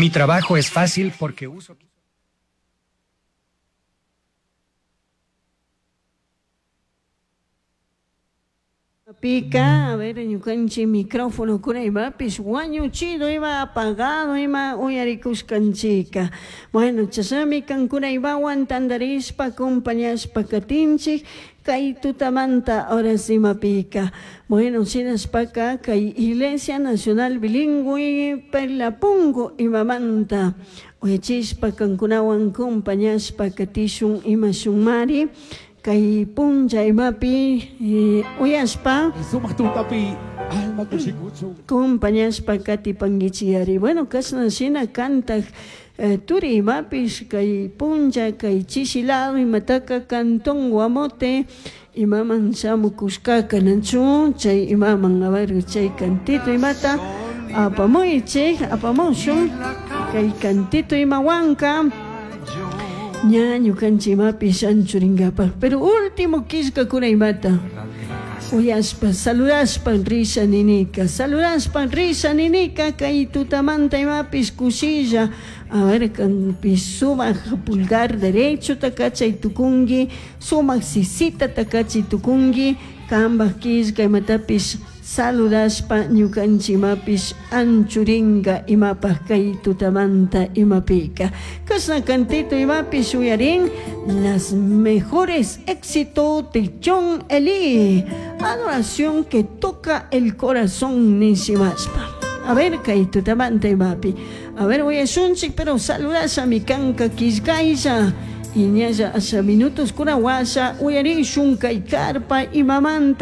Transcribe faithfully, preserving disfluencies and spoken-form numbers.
Mi trabajo es fácil porque uso... Pica, a ver, ñukanchik micrófono kuna imapish wañuchido ima apagado ima uyarikushkanchika. Bueno, chashnami kankuna imawan tandarishpa acompañashpa katinchik kay tutamanta horas imapika. Bueno, shinashpaka kay Iglesia Nacional Bilingüe Perlapungo imamanta uyachishpa kankunawan acompañashpa katishun imashunmari. Kay punlla imapi eh, uyashpa Sumaq tutapi alma kushikuchun. acompañashpa katipankichiyari. Bueno, kashna shina kantak eh, turi imapish kay punlla kay chishilado imataka cantón Guamote imaman shamukushkaka nachu chay imaman a ver chay cantito imata apamuychik apamushun kay cantito imawanka ña ñukanchik imapish anchurinkapak pero último killkakuna imata uyashpa saludashpa risha ninika saludashpa risha ninika kay tutamanta imapish kushilla a ver kanpish sumak pulgar derecho takachay tukunki sumak sisita takachay tukunki kanpak killka imatapish saludashpa ñukanchik imapish anchurinka imapak kay tutamanta imapika kashna cantito imapish uyarin las mejores éxitos de John Eli adoración que toca el corazón nishimashpa a ver kay tutamanta imapi a ver uyashunchik pero saludasha mi kanka killkaylla y ñalla asha minutos kuna washa uyarishun kay karpa imamanta.